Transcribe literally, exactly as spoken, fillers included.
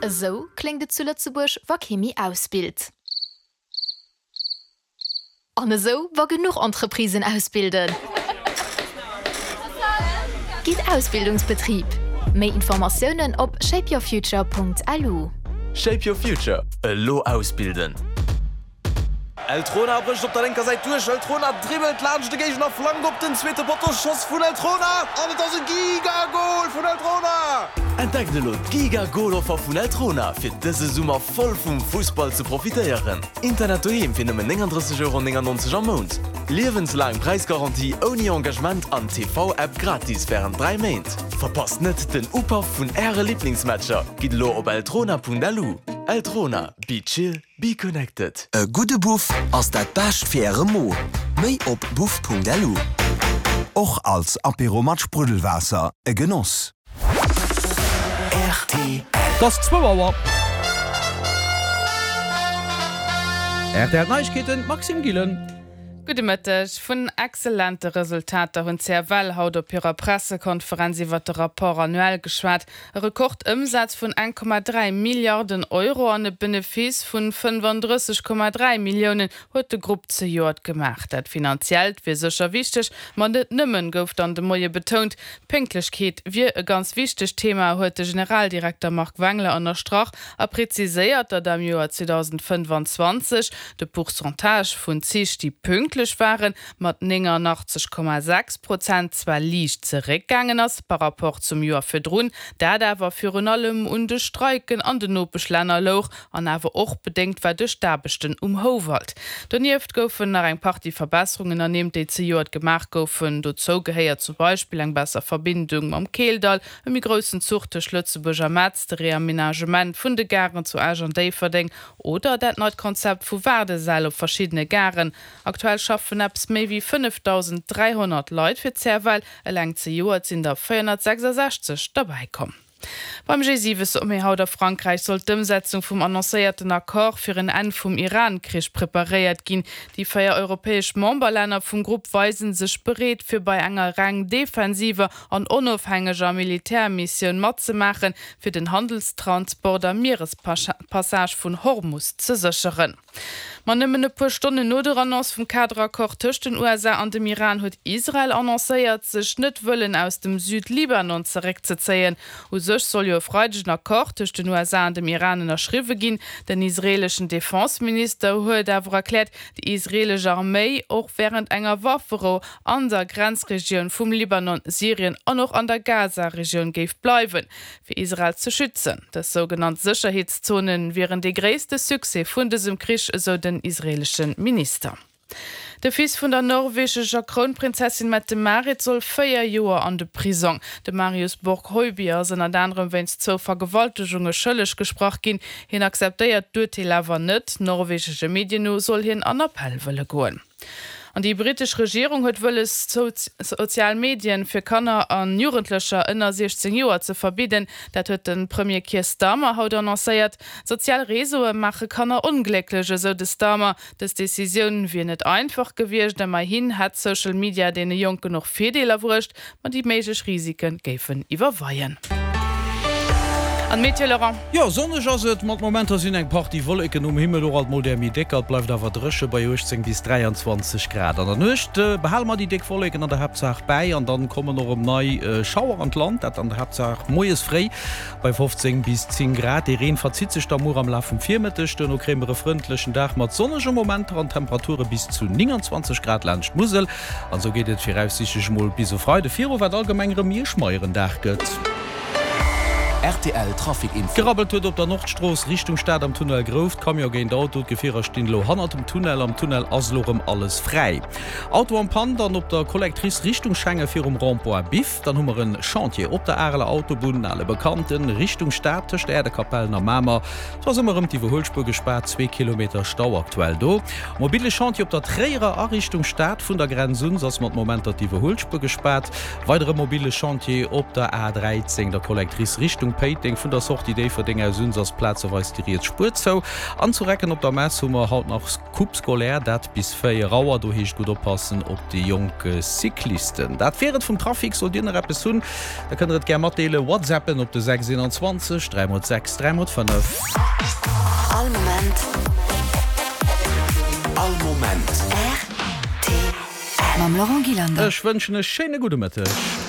Esou kléngt et zu Lëtzebuerg, wa kee méi ausbilt. An esou, wa genuch Entreprisen ausbilden. Gitt Ausbildungsbetrib. Méi Informatiounen op shapeyourfuture.lu. Shape your future, elo ausbilden! Eltrona brécht op der lénker Säit duerch, Eltrona dribbelt laanscht de Géigner, flankt op den zweete Potto, Schoss vun Eltrona an et ass e Giga-Gol vun Eltrona! Entdeckt elo d'Giga-Gol-Offer vun Eltrona fir dëse Summer voll vum Fussball ze profitéieren. Internet doheem fir nëmmen néngandrësseg Euro néngannonzeg am Mount, liewenslaang Präisgarantie ouni Engagement an T V-App gratis wärend dräi Méint. Verpasst net den Upaff vun Äre Liblingsmatcher! Gitt elo op eltrona.lu. Eltrona, be chill, be connected. E gudde Buff ass dat Bescht fir Äre Mo. Méi op buff.lu. Och als Apéro mat Spruddelwaasser e Genoss. Rtl. Et ass zwou Auer. Rtl Neiegkeeten, Maxime Gillen. Gudde Mëtteg. Vun excellente Resultater hunn C F L haut op hirer Pressekonferenz iwwer de Rapport annuel geschwat. E Rekordëmsaz vun eng Komma dräi Milliarden Euro an e Benefice vun fënnefandrësseg Komma dräi Milliounen huet de Grupp zejoert gemaach. Dat Finanziellt wier sécher wichteg, ma net nëmmen, gouf dann de Moie betount. D'Pénktlechkeet wier e ganz wichtegt Thema, huet de Generaldirekter Marc Wengler ënnerstrach a preziséiert, datt am Joer zweedausendfënnefanzwanzeg de Pourcentage vun Zich, déi pünktlech waren, mat néngannachtzeg Komma sechs Prozent zwar liicht zeréckgaangen ass par rapport zum Joer virdrun, dat awer virun allem un de Streiken an den Nopeschlänner louch an awer och bedéngt war duerch d'Aarbechten um Houwald. Donieft goufen nach eng Partie Verbesserungen ernimmt, déi zejoert gemaach goufen. Dozou gehéiert zum Beispill eng besser Verbindung mam Keeldall, e méi groussen Zuch tëscht Lëtzebuerg a Metz, de Reamenagement vun de Garen zu Esch an Déifferdeng oder dat neit Konzept vu Waardesäll op verschiddene Garen. Aktuell schaffen eppes méi wéi fënnefdausend dräihonnert Leit fir C F L, eleng zejoert sinn der véierhonnertsechsasechzeg derbäi komm. Beim G siwe Sommet haut a Frankräich soll d'Ëmsetzung vum annoncéierten Accord fir en Enn vum Iran-Krich preparéiert ginn. Déi véier europäesch Memberlänner vum Grupp weisen sech bereet, fir bei enger reng defensiver an onofhängeger Militärmissioun matzemaachen, fir den Handelstransport am Mierespassage vun Hormus ze sécheren. Ma nëmmen e puer Stonnen no der Annonce vum Kaderaccord tëscht den U S A an dem Iran huet Israel annoncéiert, sech net wëllen aus dem Südlibanon zeréckzezéien. U sech soll jo e Freideg en Accord tëscht den U S A an dem Iran ënnerschriwwe ginn. Den israeleschen Defenseminister huet awer erkläert, déi israelesch Arméi och wärend enger Wafferou an der Grenzregioun vum Libanon, Syrien an och an der Gaza-Regioun géif bleiwen, fir Israel ze schützen. Dës sougenannt Sécherheetszonen wieren de gréisste Succès vun dësem Krich, esou den israeleschen Minister. De Fils vun der norwegescher Krounprinzessin Mette-Marit soll véier Joer an de Prisong. De Marius Borg Høiby ass ënnert anerem wéinst zwou Vergewaltegunge schëlleg gesprach ginn. Hien akzeptéiert d'Urteel awer net. Norwegesche Medien no soll hien an Appell wëlle goen. An déi britesch Regierung huet wëlles, sozial Medien fir Kanner an Jugendlecher ënner siechzéng Joer ze verbidden. Dat huet de Premier Keir Starmer haut annoncéiert. Sozial Réseaue maache Kanner onglécklech, esou de Starmer. Dës Decisioun wier net einfach gewiescht, ëmmerhin hätt Social Media deene Jonken och Virdeeler bruecht, ma déi méiglech Risiken géifen iwwerweien. An Météo, Laurent? Jo, sonneg ass et, mat Momenter sinn eng Partie Wolleken um Himmel, och alt mol där méi décker. Et bleift awer dréche bei uechtzéng bis dräianzwanzeg Grad. An der Nuecht behale mer déi déck Wolleken an der Haaptsaach bäi an dann kommen och erëm nei Schauer an d'Land, dat an der Haaptsaach moies fréi bei fofzéng bis zéng Grad. Dee Reen verzitt sech da muer am Laf vum Virmëtteg. Duerno kréie mer e frëndlechen Dag mat sonnege Momenter an Temperature bis zu nénganzwanzeg Grad laanscht d'Musel. An esou geet et viraussiichtlech mol bis e Freide viru, wat allgemeng erëm méi e schmeieren Dag gëtt. R T L Trafic Info. Gerabbelt huet op der Nordstrooss Richtung Stad am Tunnel Grouft. Camion géint Auto, d'Gefierer stinn elo hannert dem Tunnel. Am Tunnel ass elo erëm alles fräi. Auto am Panne dann op der Collectrice Richtung Schengen virum Rond-point Biff. Dann hu mer en Chantier op der Areler Autobunn, ale Bekannten, Richtung Stad tëscht Äerdekapellen a Mamer. Do ass ëmmer erëm d'Iwwerhuelspuer gespaart, zwee Kilometer Stau aktuell do. Mobile Chantier op der Tréierer a Richtung Stad vun der Grenz un, ass mat Momenter d'Iwwerhuelspuer gespaart. Weidere mobile Chantier op der A dräizéng, der Collectrice Richtung Richtung Péiteng vun der Sortie Déifferdeng aus un ass plazeweis déi riets Spuer zou. An zu Recken op der Mess hu mer haut nach Coupe scolaire, dat bis véier Auer. Do heescht gutt oppassen op déi jonk Cyclisten. Dat wier et vum Trafic. Sollt Dir nach eppes hunn, da kënnt der et gär matdeelen. Whatsappen op de sechs eenanzwanzeg dräi mol sechs dräi mol fënnef. All Moment. All Moment. Rtl. Mam Laurent Gillander. Ech wënschen e schéine gudde Mëtteg.